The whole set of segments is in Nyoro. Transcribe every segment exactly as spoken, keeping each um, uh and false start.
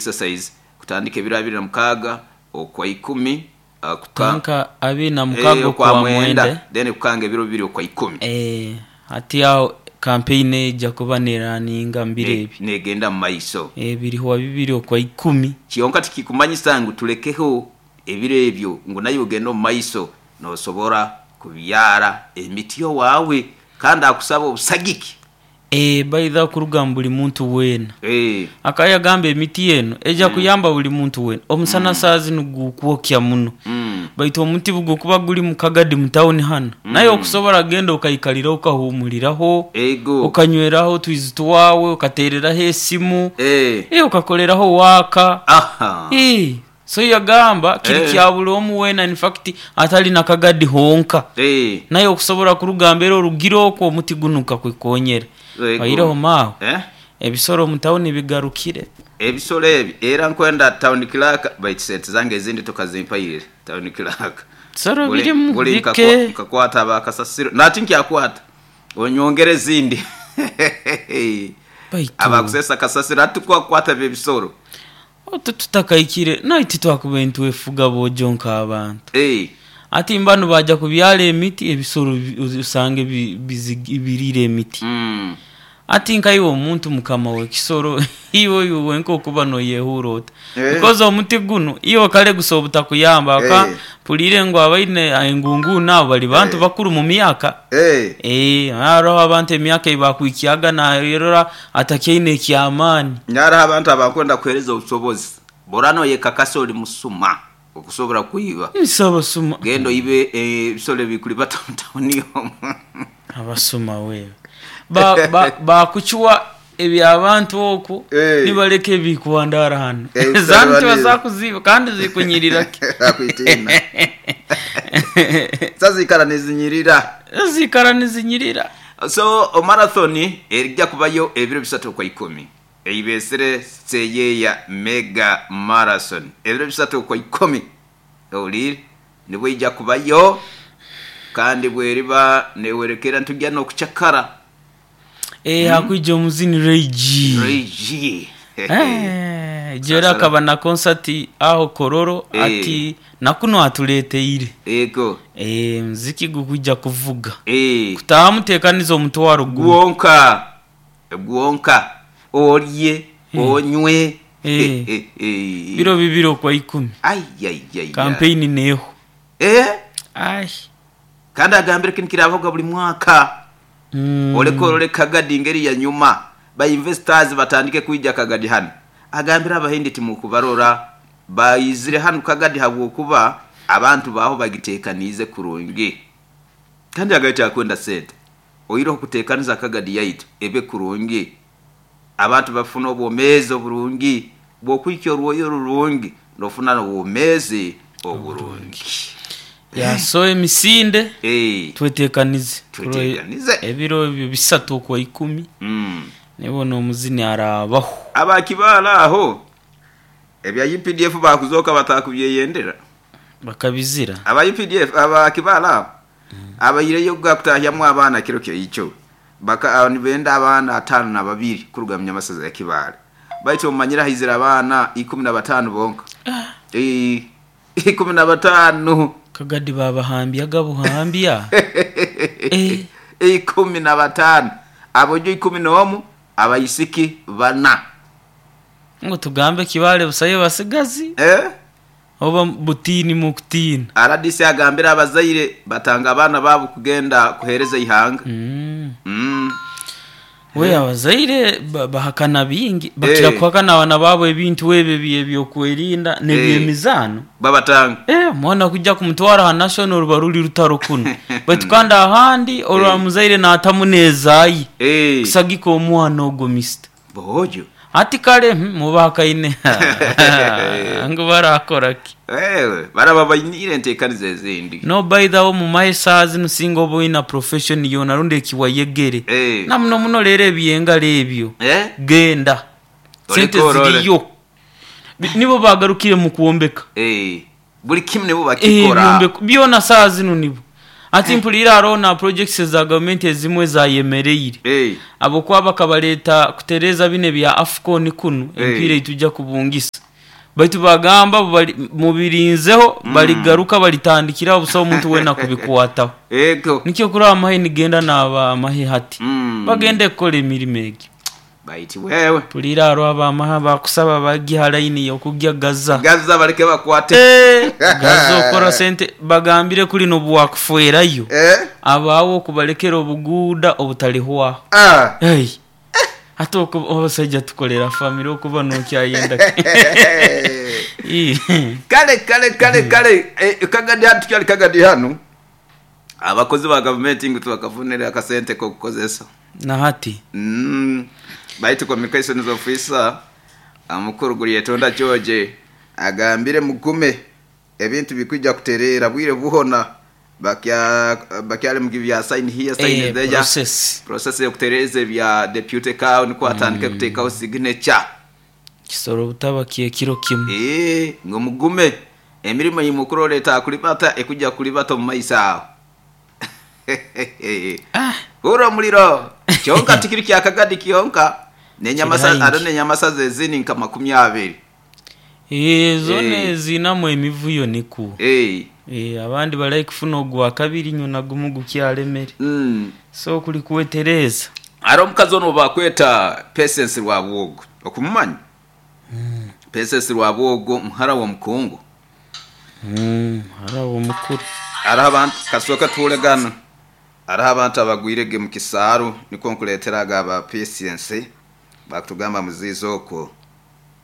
Exercise kutandika ebiro abiri na mukaaga okwa ikumi uh, kuka Tanka abiri na mukaaga eh, okwa mwenda. Then kukanga ebiro bibiri okwa ikumi. Eh, hati aho campaign ejja kuba neraninga mbiro ebi. Negenda mu maiso. Eh, biriho bibiri okwa ikumi. Kyonka tikikumanyisa ngu tulekeho ebiro ebyo, ngu naye ogenda omu maiso nosobora kubyara emiti yowawe, kandi akusaba obusagiki. Eh, baidha kuruga mu buli muntu weena. Eh. Akayagamba emiti eno ejja Mm. kuyamba buli muntu weena. Omusana Mm. saa zinu gukwokya muno. Mm. Baitu omuti gukuba guli mu Kagadi mu tawuni hano, naye Mm. okusobola genda okaikalira okahumuliraho, ego okanyweraho otwizi twawe, okatereraho esimu, eh. eh, okakoleraho waaka. Aha. Eh, so yagamba kiri Eh. kya buli omu weena, in fact atali na Kagadi honka. Eh. Naye okusobola kurugamba era orugire okwo omuti gunu kakwekonyera. Ego. Oireho maawe. Eh? Ebisoro mu tawuni bigarukire. Ebisoro ebi era nkwenda town clerk, baitu sente zange ezindi tokazimpaire town clerk. Ebisoro Buli- birimu buli bike. nkakwa- nkakwata abakasasiro nati nkyakwata onyongere ezindi. Baitu abakusesa kasasiro ati kwakwata ebisoro. Otu tutakaikire naye titwakuba ntwefuga bojo nk'abantu. Eh. Ati mbanu baja kubyala emiti, ebisoro bi-, usange bi-, bizigi-, birire emiti. Mm. Ati nkaiwe omuntu mukama w'ekisoro, iwe iwe wenka okuba noyehura ota. Eh. Because omuti guno iwe kale gusa obutakuyamba, aka Eh. pulire ngu abaine engungu nabo bali bantu Eh. bakuru mu myaka. Eh. Eh, hariho abantu emyaka ebakwikiaga nayerora atakyaine ekyamaani. Nyara abantu abakwenda kuhereza obusobozi. Borano yekakasa oli musuma okusobola kuiba. Nsaba suma. Gendo ibe ebisolo bikuli batamutawuni omu. Abasuma wewe. Ba, ba, bakuchwa ebyabantu okwo, Eh. nibaleka ebikuwandara hano. Eh, Zanu usaba tibazakuziba kandi zikunyirira ki. Akwitina. Sasa ikara nizinyirira. Zikara nizinyirira. So o marathon erijja kubayo ebiro bisatu kwa ikumi. Eibesere seyeya mega marathon. Ebiro bisatu kwa ikumi. Oliri nibwo ijja kubayo kandi bweriba newerekera ntujya no kuchakara. Eh, Mm. hakuija omuzini Ray G. Ray G. Eh, jera akaba na concert aho Kororo Eh. ati nakuno atuleteire. Ego. Eh, muziki gukuja kuvuga. Eh. Kutamutekaniza omutwaro gumu. Gwonka. Gwonka. Olye, Eh. onywe. Eh. Eh, eh. Biro bibiro kwa ikumi. Ai, ai, ai, ai. Campaign neho. Eh? Ai. Kandi agambire kintu kiravuga buli mwaka. Mm. Oleko oleka Kagadi ngeri ya nyuma. Ba investors batandike kuija Kagadi hano. Agambira abahindi timukubarora bayizire hano Kagadi habwokuba abantu baho bagitekanize kurungi. Kandi agaita akwenda sente. Oyiroho kutekaniza Kagadi yaitu ebe kurungi. Abantu bafuna obwomezi oburungi. Bwokwikya orwoyo rurungi nofuna obwomezi oburungi. Ya so emisinde Eh. twetekanize. Twetekanize. Ebiro ebyo bisatu kwa ikumi. Mm. Nibona omuzini arabaho. Abakibala aho ebya U P D F bakuzoka batakubyeyendera. Bakabizira. Aba U P D F abakibala aho. Mm. Abayireyo gakutahyamu abaana kiro kyo icho. Baka nibenda abaana atano na babiri kurugamya amasaza ya Kibale. Baitu omanyira hizira abaana ikumi na batano bonka. Ah. Eh, ikumi na batano. Kagadi babahambya gabuhambya. Eh. Ikumi na batano. Abojo ikumi n'omu abayisiki bana. Ngo tugambe Kibale busaye basigazi? Eh? Oba butini mukutini. R D C agambira abazaire batanga abana babo kugenda kuhereza ihanga. Mm. Mm. We abazaire ba-, bahakana bingi, bakira Eh. kuhakana abana babo ebintu ebyo ebyokwerinda n'ebyemizano. Eh. Babatanga. Eh, mwana kujja kumutwara ha national baruli rutaro kuno. Baitu kandi ahandi olwa Eh. muzaire n'atamunezayi. Eh. Kusagika omwana ogwo mister. Bojo. Ati kale, hmm, mubakaine. Ngo barakora ki? Eh, baraba bayinire ntekanize ezindi. No by the way mu maesazi nusinga oboina profession yona runde kiwayegere. Eh. Na muno muno lere ebyenga lebyo. Eh? Genda. Oleko Sente orole. ziriyo. Bi-, nibo bagarukire mu kuombeka. Eh. Buli kimwe nibo Eh, bakikora. byombeko byona saa zino nibo. Ati mpulira hariho na projects za gavumenti ezimwe zayemereire. Eh. Abokuba bakabaleta kutereza bine bya AFCON kunu Eh. empiira itujja kubungisa. Baitu bagamba bali- mubirinzeho baligaruka balitandikira busaho omuntu wena kubikwataho. Ego. Nikyo kuri amahe nigenda naba amahe hati. Mm. Bagende kukora emirimo egyo. Baiti wewe. Pulira hariho abamahe bakusaba bagiha layini yokugya Gaza. Gaza baleke bakwate. Eh, Gaza okora sente bagambire kuri nobuwakufuerayo. Eh. Abawo okubalekera obuguuda obutalihwaho. Ah. Hey. Ate oku- abasajja tukolera famire okuba nokyayenda. Ii. Kale kale kale kale eh, Kagadi hano tukyali Kagadi hano abakozi ba gavumenti ngu tubakafunire akasente kokukozesa. Nahati. Mm. Baitu communications officer omukuru guri Yetonda George agambire mugume ebintu bikwijja kuterera bwire buhona bakya bakyali mu bya sign here sign Eh, there process. Process yokutereza ebya deputy cow niko atandike kuteekaho signature. Kisoro butaba kyekiro kimu. Eh, ngo mugume emirimu yimukuru leta kulibata ekujja kulibata mu maiso aho. Ah. Uro muliro kyonka tikiri kya Kagadi kyonka nenyamasa Kiri aro haingi. nenyamasa zezini nka makumi abiri. Eh, zone Eh. zinamu emivuyo niku. Eh. Eh, abandi balayi kufuna ogwa kabiri nyo nagumu gukyalemere. Mm. So kuli kuwetereza. Aro omukazi ono bakweta Patience Rwabwogo okumumanya. Mm. Patience Rwabwogo muhara wa Mukungu. Mm, harawo mukuru. Araho abantu kasoka tulegana. Araho abantu abagwirege mu kisaaru niko nkuleeteraga aba Patience bakutugamba muzizo okwo.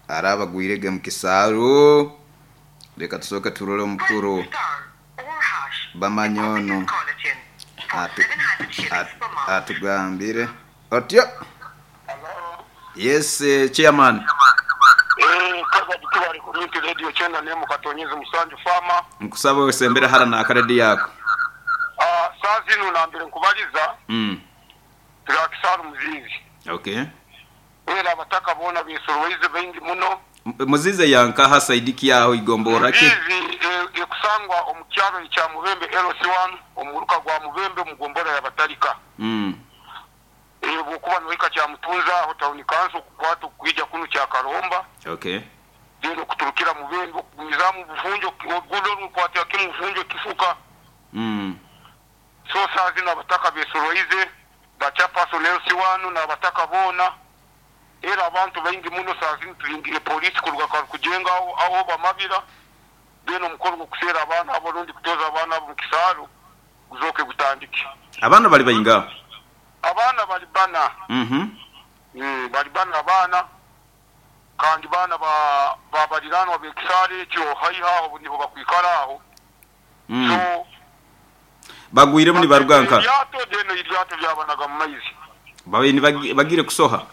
Araho abagwirege mu kisaaru leka tusooke turole omukuru bamanyono atu, atu, atugambire otyo. Yes, eh, chairman. Eh, Kagadi tubali community radio kyenda nemu katonyezi musanju fama. Nkusaba osembere hara na akaredi yako. Ah, saa zino nambere nkubaliza Mm. tuli kisaaru Muzizi. Okay. Era abataka boona beesoroize baingi muno. M- Muzize yankaha saidiki yaho igombora ki? Muzizi eh, ekusangwa omu kyalo ekya Mubembe L C one omuruka gwa Mubembe mu gombora y'Abatalika. Mm. Eh, bw'okuba nohika kya Mutunza aho town council kukwata okwija kuno kya Karomba. Okay. Then okuturukira Mubembe okugumizamu bufunjo ogudo rukwatira kimu bufunjo kifuka. Mm. So saa zino abataka besoroize bacha personnel si wanu n'abataka boona era abantu baingi muno saa zino tulingire polisi kuruga kujenga aho aho bamabira then omukoro gw'okuseera abaana abo rundi kutoza abaana abo mu kisaaru guzooke gutandike. Abaana bali bayinga? Abaana bali bana. Mhm. Mm, bali bana abaana kandi baana ba babaliranwa b'ekisaaru ekyo haiha aho niho bakwikara aho. Mm. So Bagwire muri baruganka. Eryato deno eryato lyabanaga mu maizi. Babe ni bagire kusoha.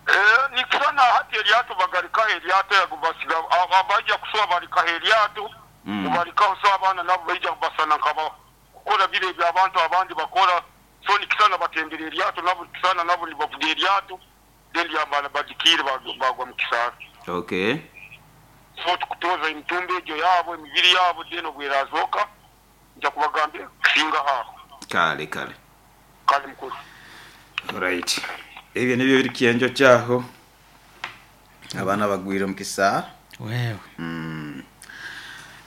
Eh, nikusana hati eryato bagarikaho eryato yagubasiga abajja kusoha barikaho eryato. Mm. Barikaho so abaana nabo baija kubasana nkaba kukora bire eby'abantu abandi bakora. So nikisana batembera eryato nabo nikisana nabo nibavuga eryato then lyambana bagikire bagwa mu kisaaru. Okay. So tukutoza emitumba egyo yaabo emibiri yaabo then obweraazooka nja kubagambira kusinga aho. Kale kale. Kale mukuru. Right. Ebyo nibyo biri kienjo kyaho. Abaana bagwire mu kisaaru. Wewe. Mm.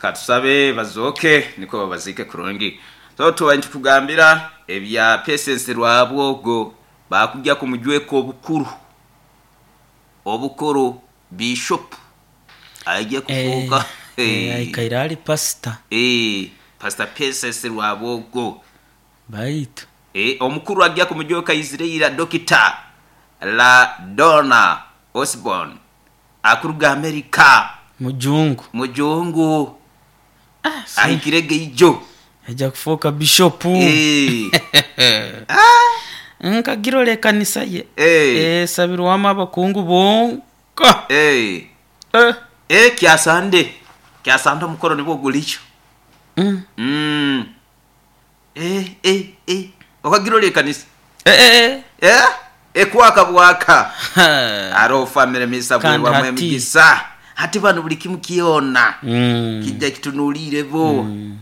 Katusabe bazooke niko babazike kurungi. So tuba ntukugambira ebya Patience Rwabwogo bakujja ku mujweko obukuru. Obukuru bishop ajja kufuuka. Eh, eh, aikaire ali pastor. Eh, Pastor Patience Rwabwogo. Baitu. Eh, omukuru ajja ku mujweko Israel Doctor La Donna Osborne akuruga America. Mujungu. Mujungu. Ah, si. Ahikirege ijo. Ajja kufuuka bishop. Eh. Ah. Nkagirole kanisa ye. Eh. Eh, sabirwamu abakungu bonka. Eh. Eh. Eh, kyasande. Kyasande omukoro nibwo gulicho. Mm. Mm. Eh, eh, eh. Okagirole kanisa. Eh, eh, eh. Eh? Ekwaka bwaka. Aro family misa Kandi bwe hati. emigisa. Hati bano buli kimu kiona. Mm. Kijja kitunulire bo. Mm.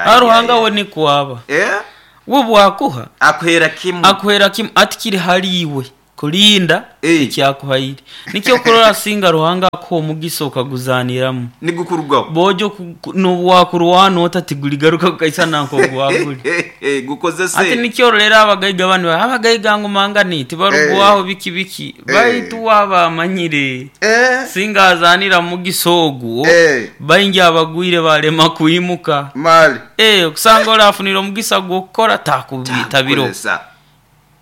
Aruhanga we nikwaba eh we bwakuha akuhera kimu akuhera kimu ati kiri haliiwe kulinda Eh. ekyakuhaire nikyo kurora singa Ruhanga akuha omugisa okaguzaniramu nigukurugaho bojo nobwakurwana ota tiguligaruka kukaisana nk'ogwaguli gukozese ati nikyo rero abagaiga banu abagaiga ngu mangani tibarugwaho biki biki baitu wabamanyire eh singa azanira mugisa ogwo Eh. baingi abagwire balema kwimuka mali Eh, okusanga olafunira omugisa gw'okukora takubitabiro Kozesa.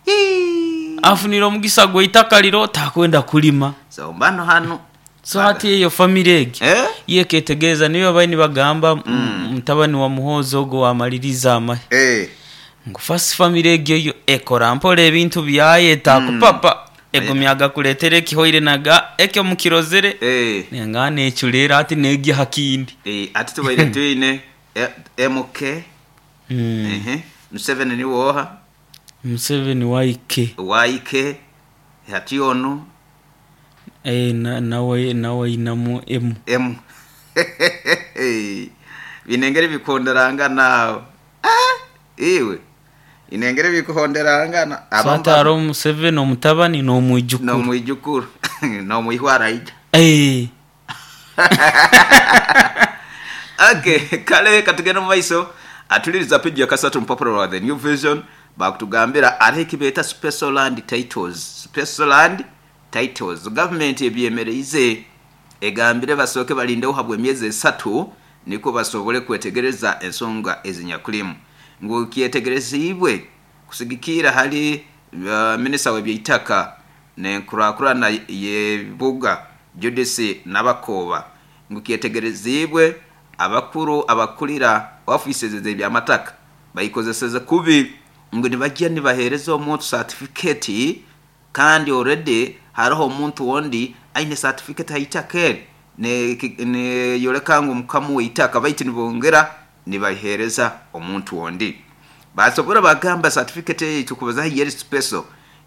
Hii. afunira omugisa gw'eitaka liro takwenda kulima So mbano hano so hati eyo family egi eh yeketegereza niyo baini bagamba mm. mutabani wa Muhoozi ogwo wamaliriza amahe eh ngu first family egyo yo ekora mpola ebintu byayo etakupapa egumya agakuleetera ekihoire naga ekyo mukirozere eh nenga neculera ati negya hakindi eh ati tubaire twine eh, M K. mm. Ehe, Museveni ni woha? Museveni waike. Y K hati ono. Eh, na- nawe nawe inamu emu. M binengere bikonderangana, ah iwe inengere bikuhonderangana. So hati hariho Museveni omutabani n'omwijukuru. Nomwijukuru nomwihwara ija. Eh, Okay, kale katugenda mu maiso atuliriza peji ya kasatu mupapuro lwa The New Vision. Bakutugambira ariho ekibeeta special land titles. Special land titles, government ebyemereize, egambire basooke balindeho habwa emyezi esatu niko basobole kwetegereza ensonga ezinyakulimu. Ngu kyetegerezibwe kusigikira hali uh, minisita w'ebyeitaka nenkurakurana yebibuga Judith Nabakoba, ngu kyetegerezibwe abakuru abakulira offices z'ebyamataka bayikozeseze kubi, ngu nibajya nibahereza omuntu certificate kandi already hariho omuntu wondi aine certificate haitaka eri neyoleka ngu mukamu weitaka, baitu nibongera nibahereza omuntu wondi. Basobora bagamba certificate eyi tukubaza yeri special,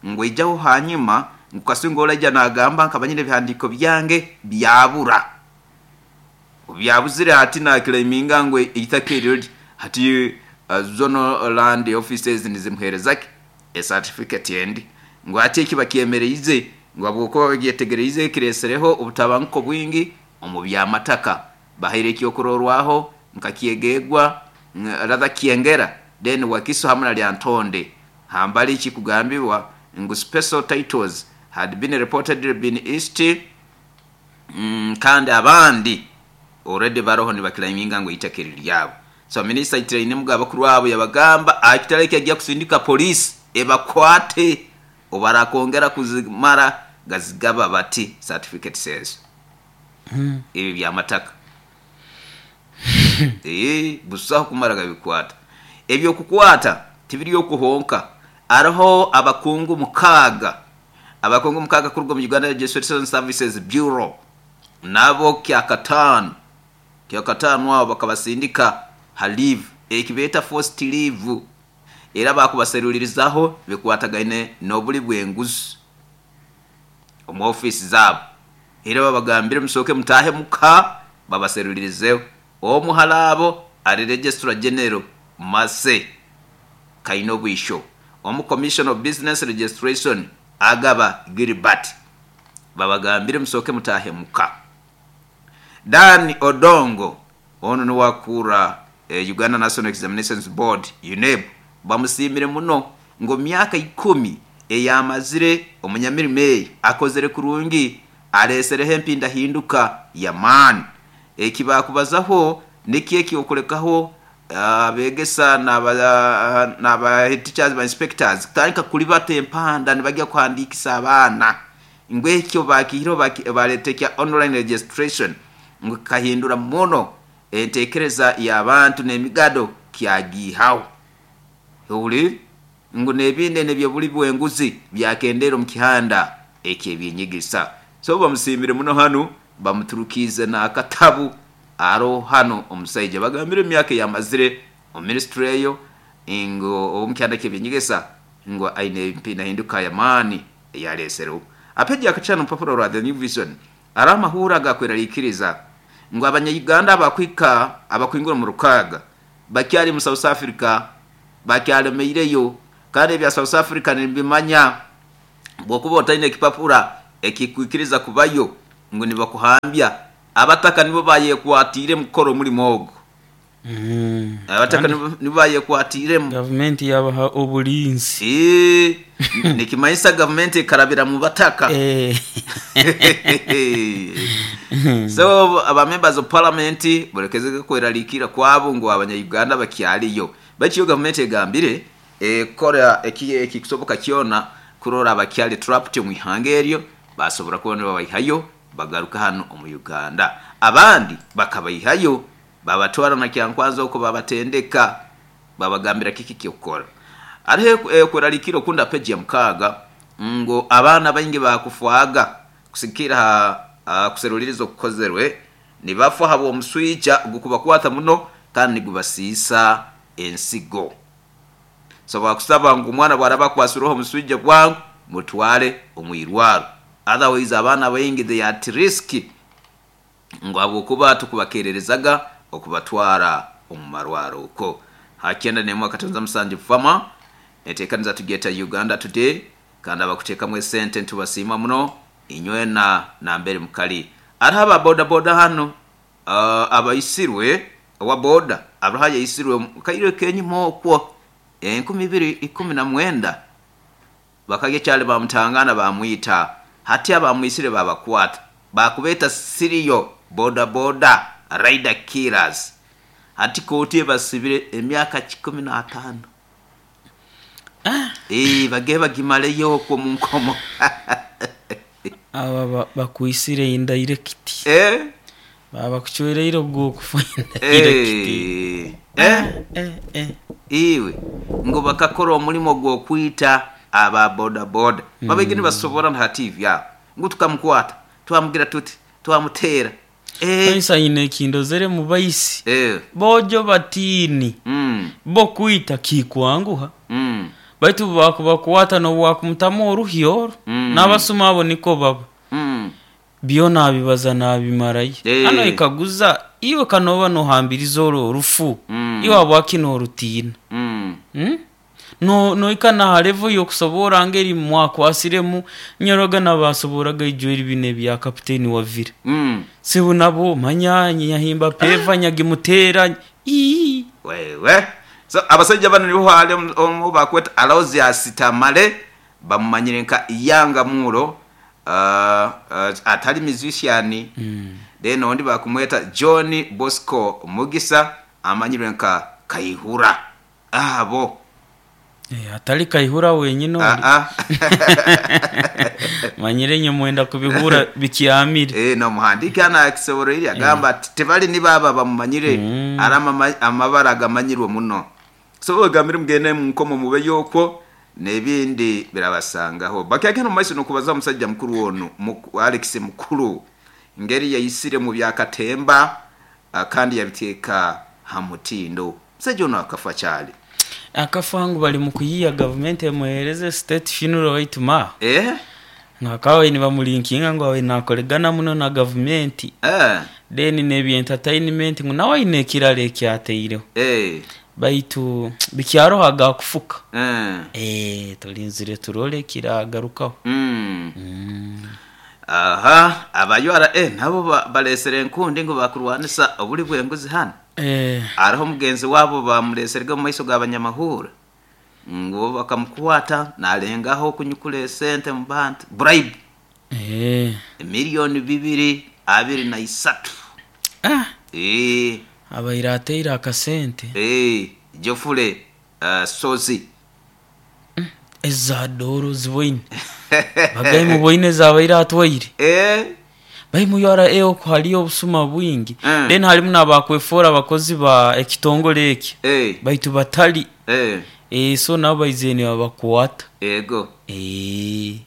ngu ijaho hanyuma ngu kasinga olajja nagamba nkabanyine ebihandiko byange byabura, byabuzire, hati nakilaiminga ngu eitaka eryo hati uh, zonal land offices nizimuherezaki ecertificate endi. Ngu hati eki bakyemereize ngu habwokuba bagyetegereize kiresereho obutabanguko bwingi omu byamataka. Bahaire ekyokurorwaho nka Kyegegwa, rather Kyengera, then Wakiso hamwe na Lyantonde. Hambali kikugambibwa ngu special titles had been reported been east mm, kandi abandi already baroho nibakilaiminga ngu itaka eri lyabo. So minisita Itiraine muga abakuru abo yabagamba akitale kyajja kusindika polisi ebakwate obarakongera kuzimara gazigaba bati certificate says mm. ebi byamataka eh busaho kumara gabikwata. Ebyokukwata tibiri okuhonka. Ariho abakungu mukaaga abakungu mukaaga kuruga mu Uganda Registration Services Bureau, nabo kyakataano kyakataano abo bakabasindika ha leave, ekibeeta forced leave, era bakubaserulirizaho bikwatagaine n'obuli bw'enguzi omu ofiisi zaabo. Era babagambire musooke mutahe muka babaserulirizeho. Omuhala abo ali Registrar General Mase Kaina Obwisho, omu Commission of Business Registration Agaba Gilbert, babagambire musooke mutahe muka. Dan Odongo ono niwakura eh, Uganda National Examinations Board, UNEB, bamusiimire muno ngo myaka ikumi eyamazire omunyamirimo eyi akozere kurungi, alesereho empindahinduka yamaani. Eki bakubazaho nikyo ekyokulekaho abegesa naba naba teachers ba inspectors kutandika kulibata empanda nibajya kuhandikisa abaana, ngu ekyo bakihiro baleta ekya online registration, ngu kahindura muno entekereza y'abantu n'emigado kyagihaho owulire, ngu n'ebindi nebyobuli bwenguzi byakendera omu kihanda ekyebinyigisa. So bamusiimire muno hano, bamuturukiize n'akatabu aro hano omusaija bagambire emyaka eyamazire omu ministry eyo, ngu omu kihanda kyebyenyigisa ngu aine empindahinduka y'amaani eyalesereho. Apeji akacana omupapuro rwa The New Vision ari amahura agakweraliikiriza ngu abanyayuganda abakwika abakwingura mu rukaaga. Bakyali mu South Africa, bakyalemeireyo, kandi ebya South Africa nibimanya bwokuba otaine ekipapura ekikwikiriza kubayo ngu nibakuhambya. Abataka nibo bayekwatiire mukukora omulimo ogwo. Mm. Abataka nibo nibo bayekwatiiremu. Gavumenti yabaha obulinzi. Eh, nikimanyisa gavumenti ekarabira mu bataka. Eh. So aba members of parliament bolekezege kweraliikira kwabo ngu abanya-Uganda bakyaliyo, baitu yo gavumenti egambire ekora eki ekikusoboka kyona kurora abakyali trapped omu ihanga eryo basobora kuba nibabaihayo bagaruka hano omu Uganda. Abandi bakabaihayo babatwara na Kyankwanzi okwo, babatendeka, babagambira kiki kyokukora. Hariho ekweraliikira okunda peji ya mukaaga ngu abaana baingi bakufwaga kusikira ha ha kuseruliriza okukozerwe, nibafa habw'omuswija gukubakwata muno kandi nigubasiisa ensigo. So bakusaba ngu omwana bwaraba akwasireho omuswija bwangu mutware omu irwaro, otherwise abaana baingi they are at risk ngu habwokuba tukubakererezaga okubatwara omu marwaro okwo. Ha kyenda nemu akatonza musanju fama etekaniza tugeta Uganda Today, kandi abakuteekamu esente ntubasiima muno inywena nambere mukali. Hariho aba boda boda hano uh, abaisirwe owa boda abaha yaisirwe kaire kenyuma okwo enkumi ibiri ikumi na mwenda, bakagya kyali bamutangana bamwita. Hati abamwisire babakwata, bakubeeta serial boda boda rider killers. Hati kooti ebasibire emyaka kikumi n'ataano. Ah. Eh, bagee bagimaleyo okwo mu nkomo. Aba ba- bakwisire indirect. Eh? Baba bakucwereire ogw'okufa indirect. Eh, eh? Eh, eh. Iwe ngo bakakora omulimo gw'okwita aba boda boda babaigi nibasobora na T V abo ngu tukamukwata, twamugira tuti, twamuteera. Eh, Kanisa ine ekindozere mu baisi eh, bojo batiini mm, bo kwita kikwanguha, mm, baitu bakubakwata nobwakumutamu oruhyo orwo. Mm. N'abasuma abo niko baba mm. byo nabibaza nabimarayo. Eh. Hano ikaguza iwe kanoba nohambiriza oro orufu, Mm. iwe habwaki norutiina? Mm. Hmm? No noikana ha level yokusobora ngeri mwakwasiremu nyoroga nabasoboraga ijweri bine bya kapiteni wa Villa. Mm. Sibu nabo manya nyahimba peva nyagimutera ii. Wewe, so abasajja bano nibo hali omu bakweta Aloysius Tamale, bamumanyire nka Yanga Muro, uh, uh, atali musician. mm. Then ondi bakumweta John Bosco Mugisa, amanyirwe nka Kaihura. Abo Eh, atali Kaihura wenyine ah, oli ah. manyire nye mwenda kubihura bikyamire. Eh, nomuhandiki hano akisobora iri agamba ati tebali ni baba bamumanyire. Mm. Ari amama- amabara agamanyirwe muno. So bagambire mugende munkomo mube yokwo n'ebindi birabasangaho. Bakyagenda mu maiso nokubaza omusajja mukuru ono Muku- Alex Mukulu ngeri yayisire mu byakatemba, ah, kandi yabiteeka ha mutindo. Omusajja ono akafa kyali. Akafa ngu bali mu kuyiya gavumenti emuhereze state funeral waitu ma eh ngakawe nibamulinkinga ngu awe nakoregana muno na gavumenti, eh then nebya entertainment ngu nawe aine ekirala ekyateireho, eh baitu bikyaroho gakufuka. eh Eh, tulinzire turole kiragarukaho. mm. Mm. Aha aba U R A nabo ba- balesere enkundi ngu bakurwanisa obuli bw'enguzi hano. Eh, Hariho omugenzi wabo bamuleserege mu maiso g'abanyamahura ngu bakamukwata nalengaho kunyukula esente mu bantu, bribe, eh. miliyoni bibiri abiri na isatu. Ah, Eh, abaire ateire akasente. eh, Jofule uh, Sozi. Eza doro ziboine bagaye muboine zabaire atwaire. Eh, Bai mu U R A okwo haliyo obusuma bwingi. Mm. Then halimu n'abakwefora abakozi ba ekitongole eki, eh, baitu batali. eh, Eh, so nabo baizire nibabakwata. Ego. Eh,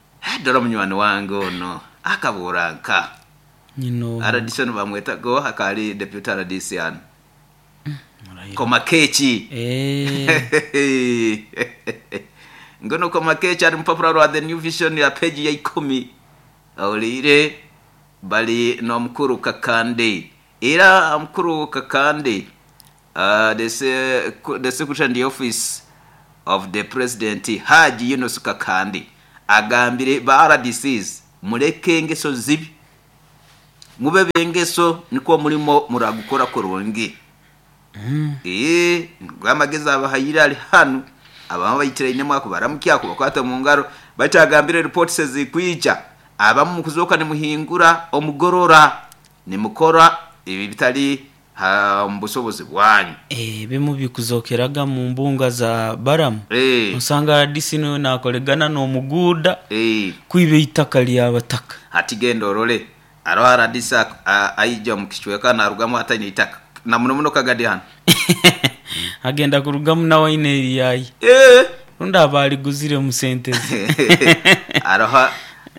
dora munywani wange ono akabura nka nyino R D C ono bamwetago akali deputy R D C ano. Murahira. Komakeki. Eh, Ngono Komakeki ari mupapura rwa The New Vision ya peji ya ikumi. Awulire bali n'omukuru Kakande, era mukuru Kakande. uh, the, se- the secretary in the office of the president Haji Yunus Kakandi agambire ba R D Cs mureke engeso zibi mube bengeso niko mulimo muragukora kurungi. Mm. Eh ngwamageza abahayira ali hanu abamu bayitiraine mwako baramukya kubakwata mu ngaro batagambire reports zikwija abamu kuzoka ni muhingura omugorora ni mukora ibi bitali mbusobozi bwanyu. Eh bimu bikuzokeraga mu mbunga za Baramu. Eh usanga R D C no nakolegana no muguda eh kwibe itaka lyabataka ati genda orole aro R D C aija mu kichweka narugamu atanye itaka na muno muno Kagadi hano agenda kurugamu na waine yayi eh runda abali guzire mu sentezi aroha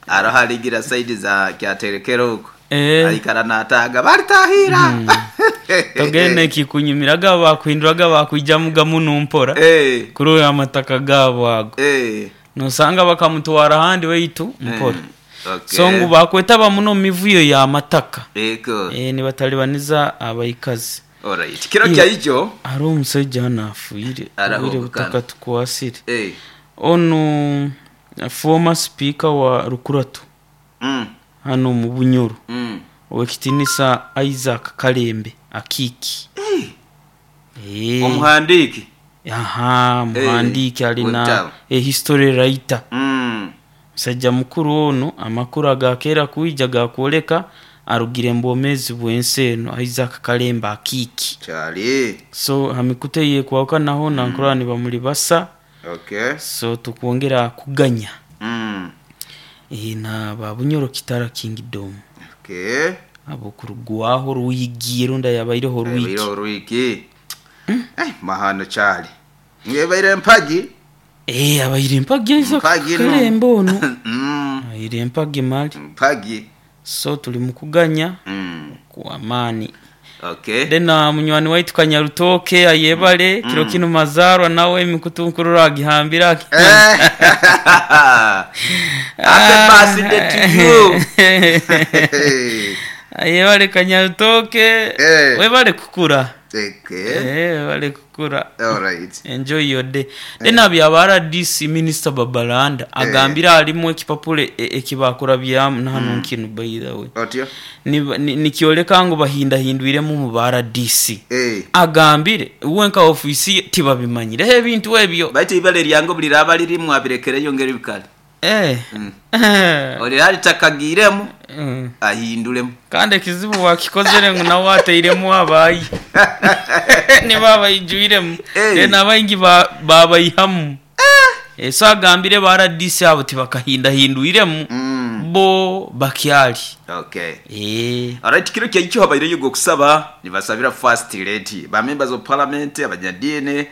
aroha ligira side za kyaterekero huko eh aikara nataga bali tahira. Hmm. Togene kikunyumiraga bakwinduraga bakwijamuga muno mpora eh kuri amataka gabo ago eh nosanga bakamutwara handi weitu mpora. Mm. Okay. So ngu bakwetaba muno mivuyo ya mataka eko eh ni batalibaniza abayikazi. Alright, kiro kya ijo ari omusajja anafuire Arahubuka. butaka tukwasire eh onu former speaker wa Rukuratu mm hano mu Bunyoro mm owekitinisa Isaac Kalembe Akiki eh eh omuhandiki aha muhandiki Eh, alina webitabo. a history writer mm musajja mukuru ono amakuru agakera kuija gakwoleka arugire mbomezi bwensi eno Isaac Kalembe Akiki chali so hamikute ye kwauka naho mm. nankura ni bamuli basa. Okay so tukwongera kuganya mm e, na ba Bunyoro Kitara Kingdom. Okay abo kurugwaho ruyigiye runda yabaireho ruwiki Yabaireho ruwiki mm. Eh mahano chali ngebaire mpagi eh abaire mpagi Isaac Mpagi no. Kalembe ono mm abaire mpagi mali mpagi so tuli mukuganya mm kwa amani. Okay Dena munywani waitu Kanyarutoke ayebale mm. kiro kino mazarwa nawe emikutu nkurura agihambira. Eh. Happy birthday to you. Ayebale Kanyarutoke Eh. webale kukura. Okay. Eh webale kukura. All right. Enjoy your day. Dena bya R D C Minister Babalanda agambira alimu ekipapule ekibakura byamu na hano nkinu by the way. Otyo. Nikioleka ni, ni ngo bahinda hindwiremu mu R D C. Eh. Agambire uwenka ofisi tibabimanyire he bintu ebyo. Baiti ibale lyango buliraba lirimu abirekereyo ngeri bikali. Eh. Mm. Olirali takagiremu mm. ahindulemu. Kandi kizibu wakikozere ngo nawe ateiremu abayi. Ni baba ijuiremu. Eh. Hey. Nabayingi ba babayihamu. Eh. So agambire ba R D C abo tibakahinda hindwiremu. Mm. Bo bakyali. Okay. Eh. Alright, kiro kya icho habaire yugo kusaba nibasabira first lady ba members of parliament abanyadini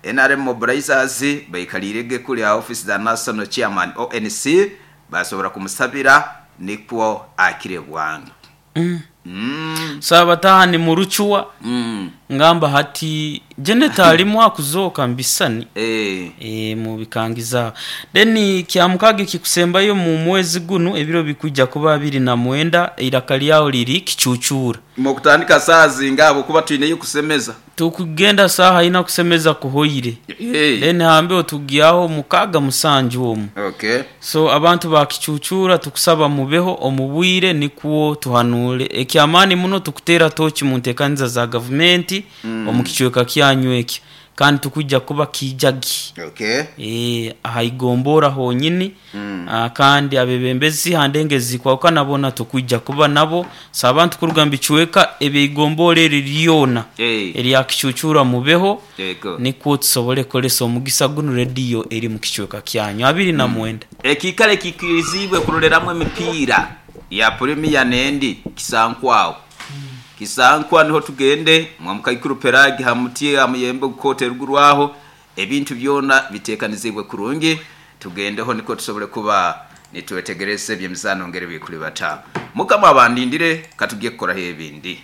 N R M mobilizers bayikalirege kuli office za national chairman O N C basobora kumusabira nikwo akire bwangu. Mm. Mm. Saba tahani muruchwa Mm. ngamba hati Janet alimu akuzoka mbisani Eh. e, mu bikangiza then kyamukage kikusembayo mu mwezi guno ebiro bikujja kuba abiri na mwenda iraka lyawo liri kicucura Mukutandika sazi ngabo kuba tuineyo kusemeza tukugenda saha ina kusemeza kuhoire hey. Then hambe otugiyaho mukaga musanju omu. Okay. So abantu bakicucura tukusaba mubeho omubwire nikuwo tuhanule ekyamani muno tukutera tochi mu ntekanyiza za government mm. omukichweka kyanyu ekyo kandi tukujja kuba kijagi. Okay. Eh ahayigombora honyini mm. kandi abebembezi handengezi kwa nabona tukujja kuba nabo sabantu kurugamba ichweka ebigombora eriyona hey. eri akicucura mubeho Eko. nikuwo tusobole kolesa omugisa guno radio eri mu kichweka kyanyu abiri na mwenda ekikale kikirizibwe kuroleramwe emipira ya Premier nendi kisankwao mm. Kisankwa niho tugende mwamukaikuru peragi hamutie amuyembe gukote rugurwaho ebintu byona bitekanizibwe kurungi tugendeho niko tusobole kuba nitwetegereze byemizano ngere bikuri bata mukama abandindire katugiye kukora hebindi.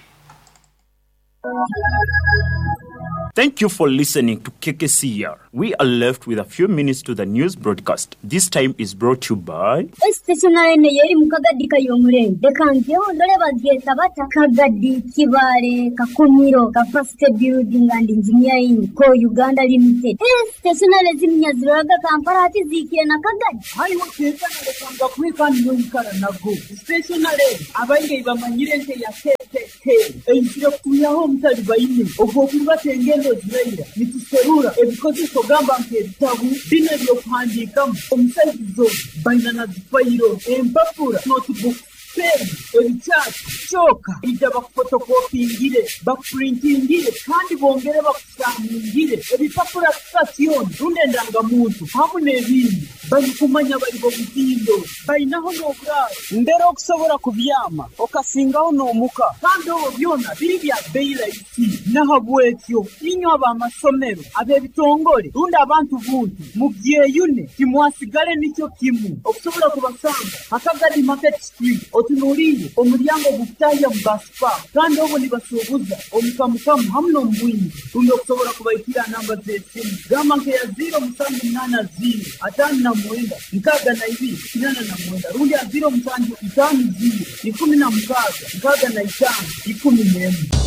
Thank you for listening to K K C R. We are left with a few minutes to the news broadcast. This time is brought to you by Stationary yeri mukagadi kayomurembe kangeho ndore bageta bata Kagadi Kibale Kakumiro Capacity Building and Engineering Co Uganda Limited. Stationary ziminyaziraga Kampala ati zikire na Kagadi. Hayi wakeza ndekanga kwikani yoikara nago. Stationary abainge bamanyire nte ya K K K. Eyisire kuyaho mutali bayine ogwo tengendo ziraira nituserura ebikozeso gamba nk'ebitabu bino ebyokuhandiikamu omusaizizo baina na zifayiro empapura notebook pen ebikyati kyoka ija bakufotokopingire bakupurintingire kandi bongere bakusamungire ebipapura sitasioni rundi endangamuntu hamu n'ebindi balikumanya bali bomutindo balinaho n'oburaaro mbere okusobola kubyama okasingaho n'omuka kandi obwo byona biri bya bbeeyi rahisi nahabwekyo inywe ab'amasomero ab'ebitongole rundi abantu buntu mubyeyune timwasigale nikyo kimu okusobola kubasanga Akagadi Market Street otunuulire omulyango gukutahya mu basipa kandi obwo nibasuubuza omukamukamu hamu n'omubwingi rundi okusobola kubaikira namba z'esimu gamba nkeya ziro musanju munaana ziro ataano na mwenda nkaaga na ibiri kinana na mwenda rundi ya ziro musanju itaano ziro ikumi na mukaaga nkaaga na itaano ikumi n'emwe.